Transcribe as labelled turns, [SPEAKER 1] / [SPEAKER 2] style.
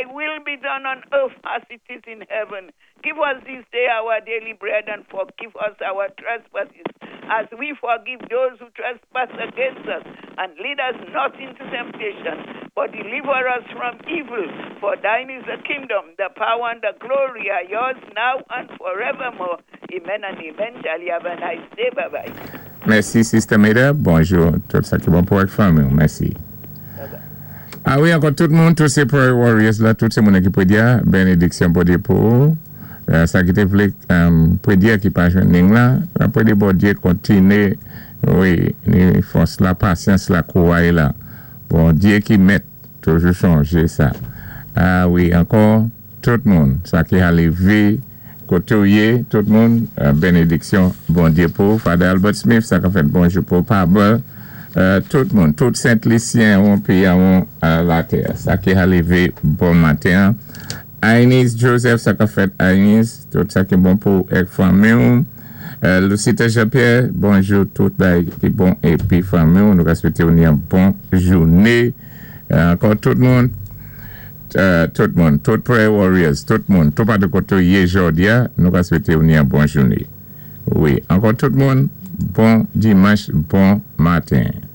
[SPEAKER 1] Thy will be done on earth as it is in heaven. Give us this day our daily bread and forgive us our trespasses as we forgive those who trespass against us. And lead us not into temptation, but deliver us from evil. For thine is the kingdom, the power, and the glory are yours now and forevermore. Amen and amen. Charlie, have a nice day. Bye bye.
[SPEAKER 2] Mèsi, Sister Meda. Bonjou. Tout sa ki bon pou ak fanmi. Mèsi.
[SPEAKER 1] Bye bye.
[SPEAKER 2] A wi, ankò tout moun, tout sé prayer warriors la, tout sé moun ki pwédyé, bénédiksyon Bondyé pou ou. Sa ki té vlé pwédyé ki pa jwenn ling la, pwédyé Bondyé kontiné, wi, ni fòs la, pasyans la, kouray la. Bondyé ki mèt, toujou chonjé sa. A wi, ankò, tout moun, sa ki alé vi, koté ou yé, tout moun, bénédiksyon Bondyé pou ou. Father Albert Smith, sa ka fèt bonjou pou Pablo, tout moun, tout Sent Lisyen ou pi ou latè, sa ki alé vi bon maten. Anis Joseph, sa ka fèt Anis, tout sa ki bon pou ek fanmi ou. Lucita Jean-Pierre, bonjou tout bagay ki bon épi fanmi ou, nou ka swété ou yon bon jouné. Ankò tout moun, tout moun, tout prayer warriors, tout moun, tout patou koté ou yé jòdi a, nou ka swété ou yon bon jouné. Wi, ankò tout moun, bon dimanch, bon maten.